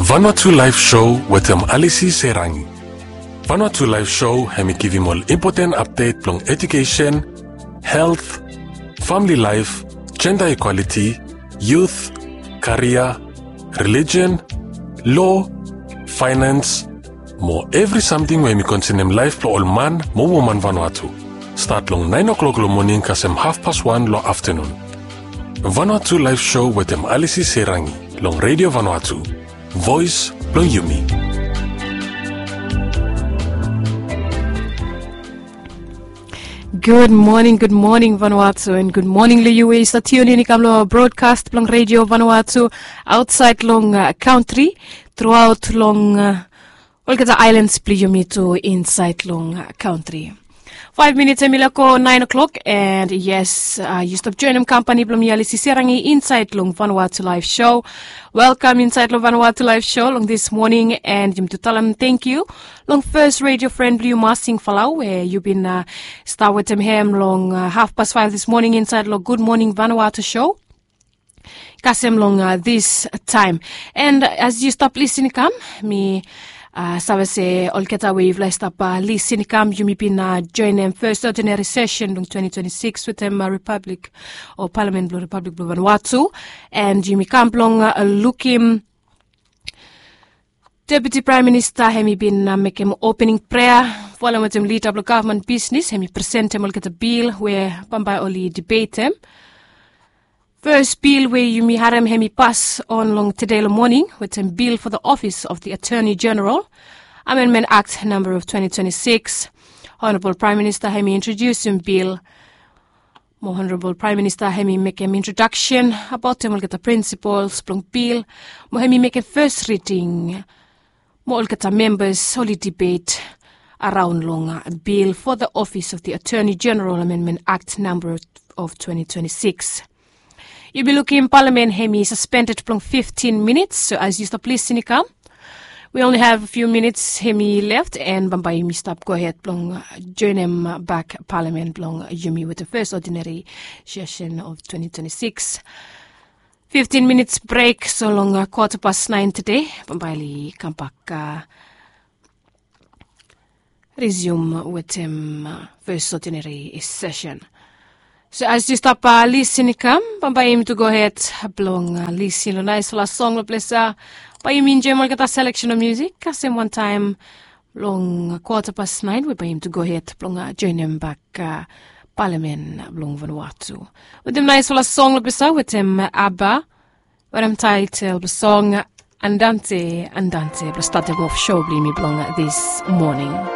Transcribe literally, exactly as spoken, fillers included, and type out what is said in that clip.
Vanuatu Live Show wetem Alisi Serangi. Vanuatu Live Show hemi givim ol impoten apdet blong edukesen, helt, famili laef, jenda ikwaliti, yut, karia, relijion, lo, faenans, mo evri samting we hemi konsenem laef blong ol man mo woman Vanuatu. Stat long naen o'klok long moning kasem hafpas wan long aftenun. Vanuatu Live Show wetem Alisi Serangi long Redio Vanuatu, voes blong yumi. Gud moning, gud moning Vanuatu, and gud moning long yu we yu stap tiun in i kam long brodkas blong Redio Vanuatu aotsaed long kantri, truaot long olgeta aelans blong yumi tu insaed long kantri. Faef minits hemi lego naen o'klok, and yes, yu stap joenem kampani blong mi Alisi Serangi insaed long Vanuatu Live Show. Welkam insaed long Vanuatu Live Show long dis moning, and yumi tu talem tangkiu long fes redio fren blong yu Masing Falau we yu bin stap wetem hem long hafpas faef dis moning insaed long Gud Moning Vanuatu Show kasem long dis taem. And as yu stap lisin i kam, mi save se olgeta we yufala i stap lisin i kam, yumi bin joenem fes odinari sesen blong twenti twenti sikis wetem Ripablik o Palamen blong Ripablik blong Vanuatu, and yumi kam blong lukim Deputi Praem Minista hemi bin mekem opening prea, folem wetem lida blong gavman bisnis, hemi presentem olgeta bil we bambae oli dibetem. Fes bil we yumi harem hemi pas on long tede long moning wetem bil fo the Office of the Attorney General, Amendment Act namba of twenti twenti sikis. Honorabol Praem Minista hemi introdiusim bil, mo Honorabol Praem Minista hemi mekem introdaksen abaotem olgeta prinsipols blong bil, mo hemi mekem fes riding, mo olgeta membas oli dibet araon long bil fo the Office of the Attorney General, Amendment Act namba of twenti twenti sikis. Yu bin lukim Palamen hemi saspended blong fiftin minits, so as yu stap lisin i kam, we only have a few minutes hemi left, and bambae yumi stap gohed blong joenem bak Palamen blong yumi wetem fes odinari sesen of twenti twenti sikis. Fiftin minits brek, so long kwata pas naen tede bambae oli kambak risium wetem fes odinari sesen. So as yu stap lisin i kam, bambae yumi tu gohed blong lisin long naesfala song long ples ia. Bae yumi enjoem olgeta seleksen of musik kasem wantaem long kwata pas naen we bae yumi tu gohed blong joenem bak Palamen blong Vanuatu wetem naesfala song long ples ia wetem ABBA, we hem taetel blong song Andante Andante blong statem of show blong yumi blong dis moning.